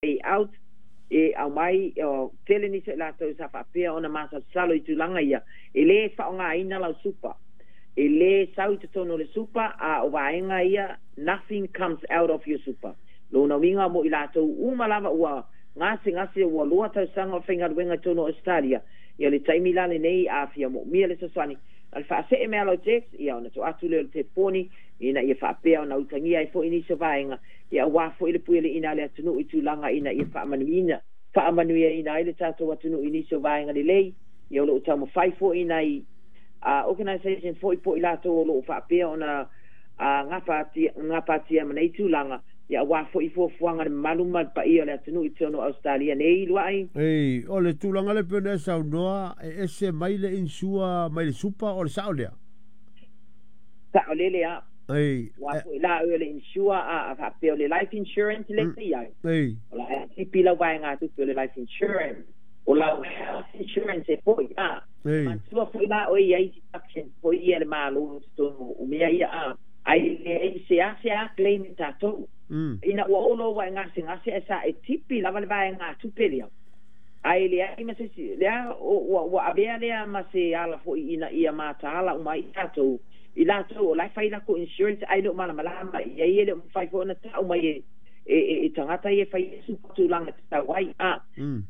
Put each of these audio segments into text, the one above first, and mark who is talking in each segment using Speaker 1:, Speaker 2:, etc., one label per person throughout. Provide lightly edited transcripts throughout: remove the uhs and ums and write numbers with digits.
Speaker 1: Out e aumai o tele nisi o i latou sa faapea ona masalosalo i tulaga ia, e lē faaaogāina lau super, e lē sau i totonu o le super, a o vaega ia, nothing comes out of your super. Lona uiga mo i latou uma lava ua gasegase ua 2 tausaga o faigaluega i totonu o Ausetalia, ia le taimi la lenei a fia moomia le fesoasoani, na o le faasee mai lava o lau text, ia ona tuu atu lea o le telefoni ina ia faapea ona utagia ai foi nisi o vaega, ia aua foi le puialiiga a le atunuu i tulaga ina ia faamanuiina, faamanuiaina ai le tatou atunuu i nisi o vaega lelei. Ia o lo o taumafai foi nai organisation foi po o i latou o lo o faapea ona gapatia ma nei tulaga, ia aua foi fuafuaga le mamalu ma le paia o le atunuu i totonu o Ausetalia nei, Luai.
Speaker 2: Ei, o le tulaga lea pei ona e saunoa, e ese mai le insure mai le super, o le sao lea?
Speaker 1: Saolele a.
Speaker 2: Ei.
Speaker 1: Ua foi la o le insure a faapea o le life insurance le se iai.
Speaker 2: Ei.
Speaker 1: O la e tipi lau vaegatupe o le life insurance. O lau health insurance e foi a.
Speaker 2: Ei.
Speaker 1: Manatua foi la oe i ai deductions foi ia le Malo i totonu o mea ia a. Ai leai se a se a claim e tatou. Ina ua oo loa ua e gasegase ae sa e tipi lava le vaegatupe lea. Ae leai ma se isi, lea ua avea lea ma se ala foi ina ia mataala uma ai tatou, i latou o la e fai latou insurance ae le o malamalama i ai, e le o mafai foi ona tau mai e tagata ia e fai ai super tulaga e tatau ai. A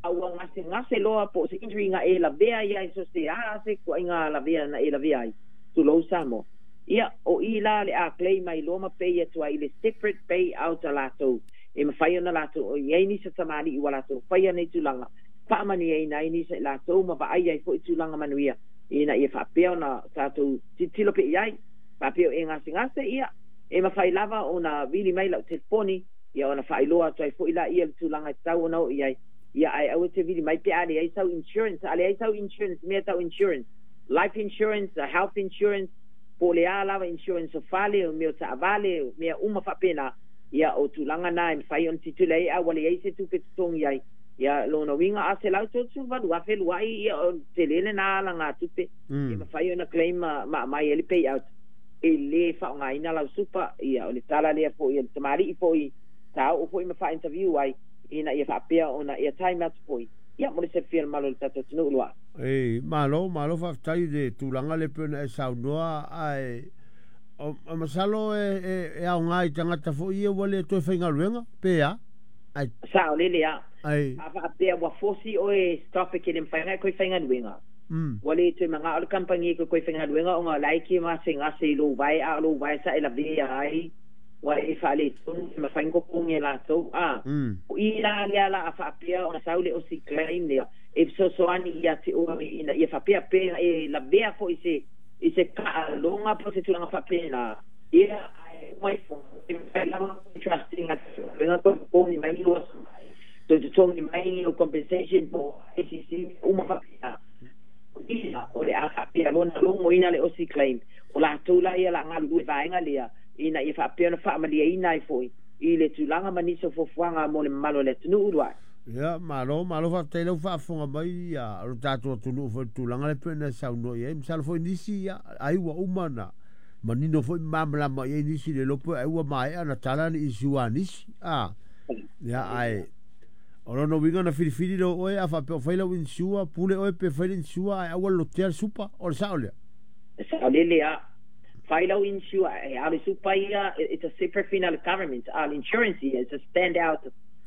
Speaker 1: a ua gasegase loa po o se injury na e lavea ai i so se a se ituaiga lavea na e lavea ai, tulou Samoa. Ia, o i la le a claim ai loa ma pay atu ai i le separate pay out a latou e mafai ona latou i ai nisi o tamalii ua latou faia nei tulaga, faamanuiaina ai nisi o i latou ma vaai ai foi tulaga manuia ina ia faapea ona tatou tilotilo pea i ai. Faapea o e gasegase, ia, e mafai lava ona vili mai lau telefoni, ia ona faailoa atu ai foi laia le tulaga e tatau ona oo i ai, ia, ae aua e te vili mai pe a leai sau insurance. A leai sau insurance, mea tau insurance, life insurance, health insurance, po o le a lava insurance o fale, o mea o taavale, o mea uma faapena, ia o tulaga na e mafai ona tilotilo i ai, a ua leai se tupe totogi ai, ia lona uiga a $138,000 luai, ia o le tele lena alagatupe e mafai ona claim ma aumai ai le payout. E lē faaaogāina lau super. Ia o le tala lea foi a le tamalii foi sa oo foi ma faa-interview ai ina ia faapea ona airtime atu foi, ia mo le silafia mamalu o le tatou atunuu, Luai.
Speaker 2: Ei, malo, malo faafetai i le tulaga lea pei ona e saunoa, ae o masalo e aoga i tagata foi ia ua le toe faigaluega, pe a? Ai.
Speaker 1: Saolele a.
Speaker 2: Ai.
Speaker 1: A faapea ua fosi oe stop e ke le mafai ona e toe faigaluega. Ua le toe manao le kamupani e toe faigaluega ona o la e te gasegase i lou vae, a o lou vae sa e lavea ai ua e faaletonu, e mafai ona totogi e latou. A o i la lea la a faapea ona sau le osi claim lea e fesoasoani ia te oe ina ia faapea pe e lavea foi i se taaloga po o se tulaga faapena, ia ae uma ifo e mafai lava trust ina toe totogi mai lua toe totogi mai o compensation po ACC uma faapena. Ia o le a faapea lona logoina le osi claim o latou la ia la galulue vaega lea ina ia faapea ona faamaliaina ai foi i le tulaga ma nisi o fuafuaga mo le mamalu o le atunuu, Luai.
Speaker 2: Ia, malo, malo faafetai lau faafofoga mai ia o le tatou atunuu foi i le tulaga lea pei ona saunoa i ai. Masalo foi nisi ia ai ua uma na manino foi ma malamalama i ai nisi le iloa po ai ua maea na tala ni issue a nisi. A, ia, ae o lona uiga na filifili lea oe a faapea o fai lau insure, pule oe pe fai le insure ae aua le lotea le super, o le sao lea?
Speaker 1: Saolele a. Fai lau insure e a le super ia, it's a separate thing a le government, a le insurance ia, it's a stand out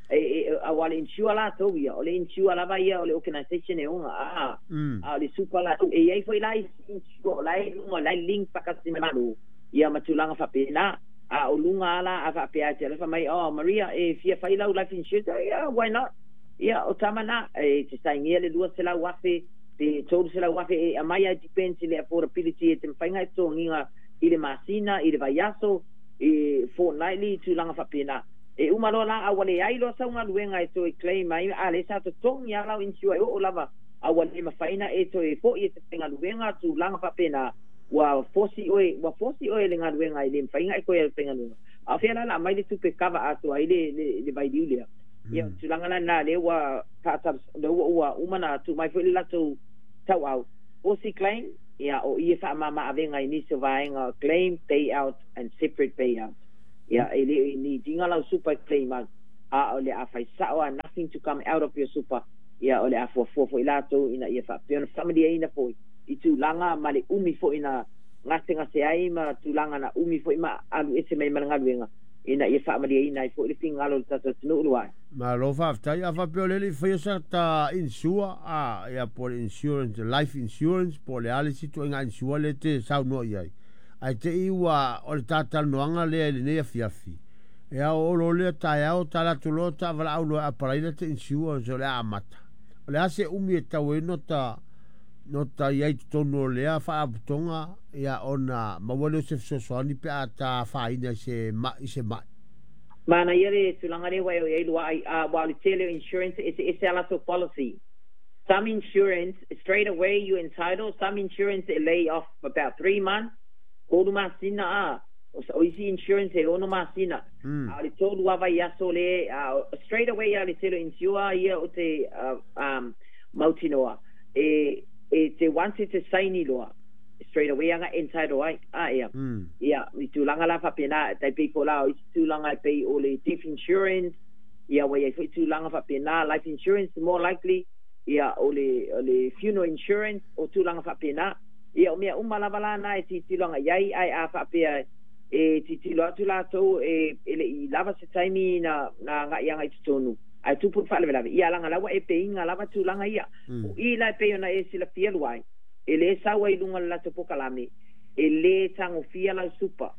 Speaker 1: e a le insure latou ia, o le insure lava ia o le organisation e ona a a o le super latou e iai foi la insure o la e luga la e link faatasi ma Malo ia ma tulaga faapena. A o luga ala a faapea te alofa mai, "Oh Maria, e fia fai lau life insurance?" Yeah, why not? Ia o tama na e te sainia le 200,000 pe 300,000 e aumai ai, depends i le affordability e te mafai e totogiga i le masina, i le vaiaso, i fortnightly, tulaga faapena. E uma loa la a ua leai loa sau galuega e toe claim ai, a le sa totogi a lau insure e oo lava a ua le mafai na e toe fo'i e te faigaluega, tulaga faapena ua fosi oe le galuega e le mafai na e toe faigaluega, a o fea la la aumai le tupe kava atoa ai le vailiu lea? Ia tulaga la na lea ua lea ua uma na tuu mai foi le latou tauau osi claim, ia o i e faamama avega i nisi o vaega, claim payout and separate payout. Ia e le ni dinga lau super claim out. A o le a fai sa'o a nothing to come out of your super. Ia o le a fuafua fo'i latou ina ia faapea ona faamalieina fo'i i tulaga ma le umi fo'i na gasegase ai ma tulaga na umi fo'i ma alu ese mai ma le galuega ina ia faamalieina ai fo'i le finagalo o le tatou atunuu luae.
Speaker 2: Malo faafetai. A faapea o le le i faia sa ta insure a ia po o le insurance, life insurance po o le a le isi ituaiga insure lea e te saunoa i ai, ae te i ua o le ta talanoaga lea i lenei afiafi, e ao olo lea taeao ta alu atu loa ta valaau loa e apalai la te insurance o le a amata. O le a se umi e tatau ai ona ta no ta i ai i totonu o lea faalapotopotoga ia ona maua lea o se fesoasoani pe a ta afaina i se ma'i se ma'i.
Speaker 1: Manaia le tulaga lea ua e o i ai luaai, a ua o le tele o insurance e eseese a latou policy. Some insurance straight away you entitled, some insurance e lay off about 3 months, 3 masina a o isi insurance e 6 masina. A o le 3 lava vaiaso le straight away a le tele o insure ia o te mautinoa e te once e te saini loa straight away aga entitled ai a ia. Ia, i tulaga la faapena, tai pei fo la o isi tulaga e pei o le death insurance, ia ua iai fo'i tulaga faapena, life insurance more likely, ia o le funeral insurance o tulaga faapena. Ia o mea uma lava la na e tilotilo agai ai, ae a faapea e tilotilo atu latou e le'i lava se taimi na aga'i agai totonu, ae tupu le faalavelave, ia laga la ua e peiga lava tulaga ia. O i la e pei ona e silafia luai, e lē sau ai luga o le latou pokalame, e lē tagofia lau super.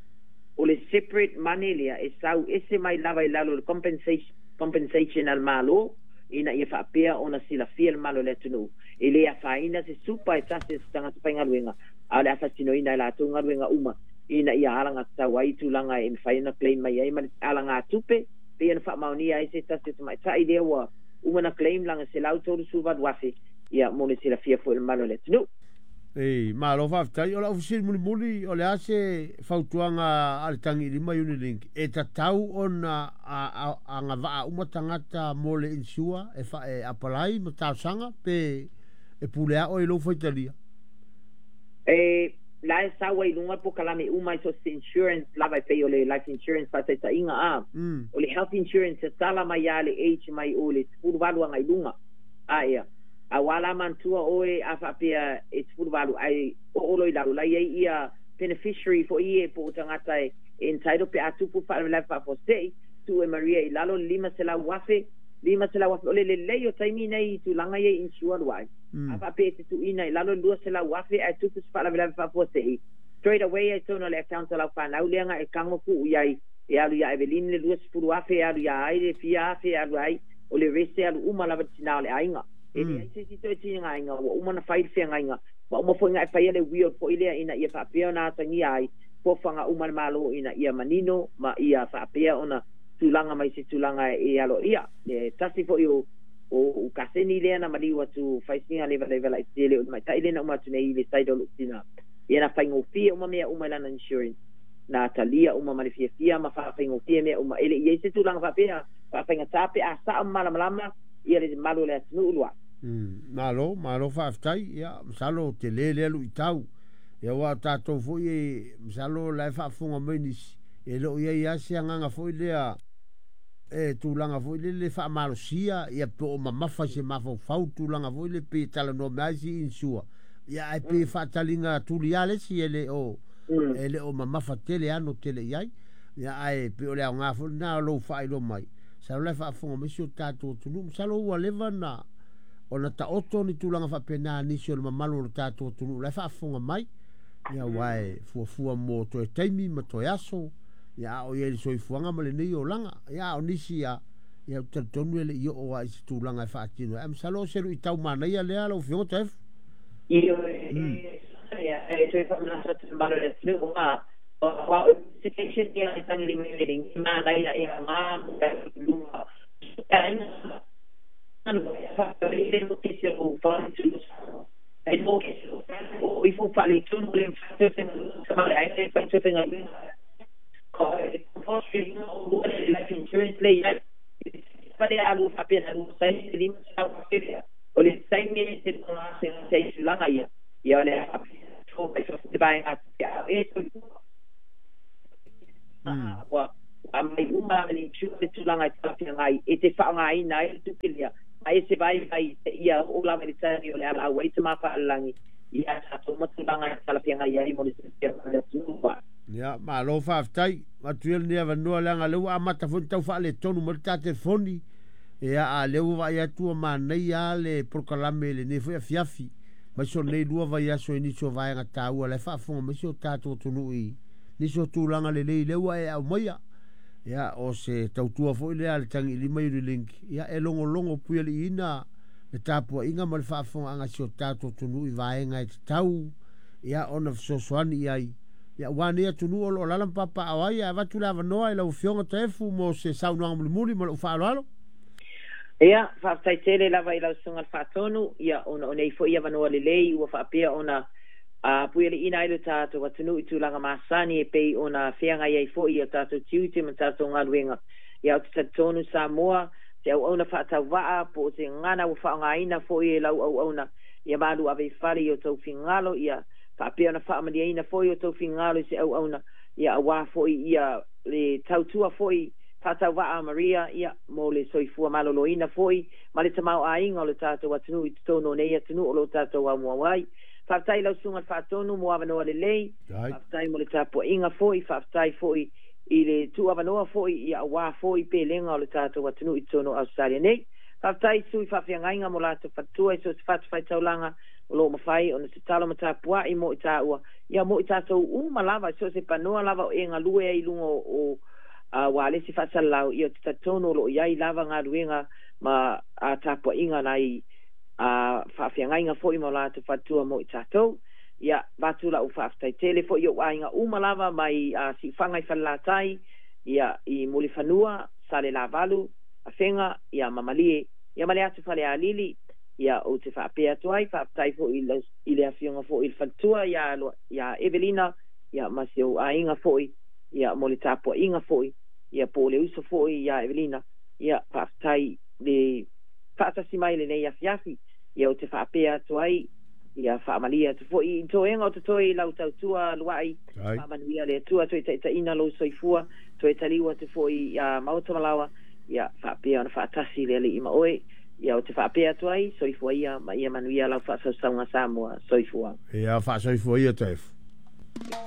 Speaker 1: O le separate money lea e sau ese mai lava i lalo o le compensation a le Mālō ina ia faapea ona silafia le malo o le atunuu. E lē afaina se super e tasi se tagata faigaluega, a o le afatinoina e latou galuega uma ina ia alagatau ai tulaga e mafai ona claim mai ai ma le alagatupe pei ona faamaonia ai se tasi o tamaita'i lea ua uma na claim laga 138,000 ia mo le silafia fo'i le malo o le atunuu.
Speaker 2: Ei, malo faafetai. O lau fesili mulimuli, o le a se fautuaga a le Tagiilima Unilink e tatau ona agavaa uma tagata mo le insure e e apalai ma talosaga pe e pule a'o i lou faitalia?
Speaker 1: E la e sau ai luga pokalame uma i so se insurance lava e pei o le life insurance faataitaiga a. O le health insurance e tala mai ia le age mai o le 18 agai luga. A ia. A ua la mantua oe a faapea e 18 ai o olo i lalo la iai ia beneficiary fo'i e po o tagata e entitled pe a tupu faalavelave faafuasei tuu e Maria i lalo le 500,000, 500,000 o le lelei o taimi nei i tulaga ia insure luai. A faapea e te tuuina i lalo le 200,000 ae tupu se faalavelave faafuasei straight away ai tonu o le account o lau fanau lea ga e kago tuu i ai e alu ia Evelyn le 20,000 e alu ia ai le fia afe e alu ai o le rese alu uma lava le tinā o le aiga. E leai se isi toe tigaina ua uma na fai le feagaiga ma uma fo'i ga e faia le will fo'i lea ina ia faapea ona atagia ai foafoaga uma le Mālō ina ia manino ma ia faapea ona tulaga mai se tulaga e aloaia. E tasi fo'i o kaseni lea na maliu atu faisiga levaleva laitele o le maita'i lea na uma atu nei i le side o lo'u tinā ia na faigofie uma mea uma i lana insurance na talia uma ma le fiafia ma faafaigofie mea uma e le'i ai se tulaga faapea faafaigata pe a sa'o ma malamalama ia le malu o le atunuu lua.
Speaker 2: Malo, malo faafetai. Ia, masalo tele lea luitau. Ia ua tatou fo'i e masalo la e faafofoga mai nisi, e le o i ai lava se agaga foi lea e tulaga foi lele faamalosia ia po o mamafa i se mafaufau tulaga foi le pe talanoa mai ai si insure. Ia ae pe faataliga tuli lava le isi e le o e le o mamafa tele ano tele i ai. Ia ae pe o le aoga foi lena o lou faailoa mai. Masalo la e faafofoga mai si o tatou atunuu. Masalo ua leva na ona taoto ni tulaga faapena nisi o le mamalu o le tatou atunuu la e faafofoga mai. Ia aua e fuafua mo toe taimi ma toe aso. Ia a o i ai le soifuaga ma lenei olaga. Ia a o nisi ia ia ou te talitonu e le i oo lava i se tulaga e faatino ai. Ae masalo o se luitau manaia lea lau Afioga Toeafu.
Speaker 1: Ioe, e toe faamanatu atu le malo o le atunuu a o education ia e tagilima i le manaia e aoga mo le luga le mortgage o e mortgage o ifo faaletonu le faatotoga compulsory o life insurance le iai pale alu faapea alu sai 500,000 lea o le taimi e te se se tulaga ia ia o le fo mai fo te vaega e ua Aumai uma lava e le insurer le tulaga e talafeagai e te faaaogaina ai le tupe lea, ma e se vaivai seia oo lava i le taimi o le a lau ai Tama Faalelagi ia tatou ma tulaga e talafeagai ai mo le silafia ma le atunuu.
Speaker 2: Ia, malo faafetai. Avatu ia lenei avanoa leaga o lea ua amata foi ona tau faaletonu mai le ta telefoni. Ia, a o lea ua vaai atu ua manaia lava le polokalame i lenei foi afiafi, aemaise o lenei lua vaiaso i nisi o vaega taua o la e faafofoga mai si o tatou atunuu i nisi o tulaga lelei lea ua e aumaia. Ia, o se tautua foi lea a le Tagiilima Unilink, ia e logologo puialiiina le tapuaiga ma le faafofogaaga a si o tatou atunuu i vaega e tatau ia ona fesoasoani i ai. Ia, aua nei atunuu o lo o alaala ma papaaao ai, ae avatu le avanoa i lau Afioga Taefu mo se saunoaga mulimuli ma lou faaaloalo.
Speaker 1: Ia, faafetai tele lava i lau Susuga i le Faatonu, ia, ona o nei foi avanoa lelei ua faapea ona puialiiina ai lo tatou atunuu i tulaga masani e pei ona feagai ai foi i o tatou tiute ma tatou galuega. Ia, ou te talitonu Samoa, se auauna faatauvaa po o se gagana ua faaaogaina foi e lau auauna, ia malu ave i fale i o tou finagalo, ia faapea ona faamalieina foi o tou finagalo i se auauna, ia aua foi ia le tautua foi faatauvaa a Maria, ia mo le soifua maloloina foi ma le tamaoaiga o le tatou atunuu i totonu o nei atunuu o lo o tatou aumoau ai. Faafetai i lau Susuga i le Faatonu mo avanoa lelei, faafetai mo le tapuaiga foi, faafetai foi i le tuuavanoa foi ia aua foi pelega o le tatou atunuu i totonu o Ausetalia nei. Faafetai i sui faafeagaiga mo latou faletua i so o se fatafaitaulaga o lo o mafai ona tatalo ma tapuai mo i tāua, ia mo i tātou uma lava i so o se panoa lava o e galue ai i luga o ualesi faasalalau, ia ou te talitonu o lo o i ai lava galuega ma tapuaiga nai faafeagaiga foi ma o latou faletua mo i tātou. Ia, avatu lau faafetai tele foi i ou aiga uma lava mai Siufaga i Falelatai, ia, i Mulifanua, Salelavalu, Afega, ia, ma Malie, ia ma le atu Falealili. Ia, ou te faapea atu ai, faafetai foi i le afioga foi i le faletua ia, ia Evelina, ia, ma si ou aiga foi, ia, mo le tapuaiga foi, ia, po o le uso foi ia Evelina, ia, faafetai le faatasi mai i lenei afiafi. Ia, ou te faapea atu ai, ia, faamalie atu foi i toega o totoe i lau tautua luai, faamanuia le Atua, toe taitaiina lou soifua, toe taliu atu foi ia Maota Malawa, ia, faapea ona faatasi le Alii ma oe. Ia, ou te faapea atu ai, soifua ia ma ia manuia lau faasausauga Samoa. Soifua.
Speaker 2: Ia, faasoifua ia Taefu.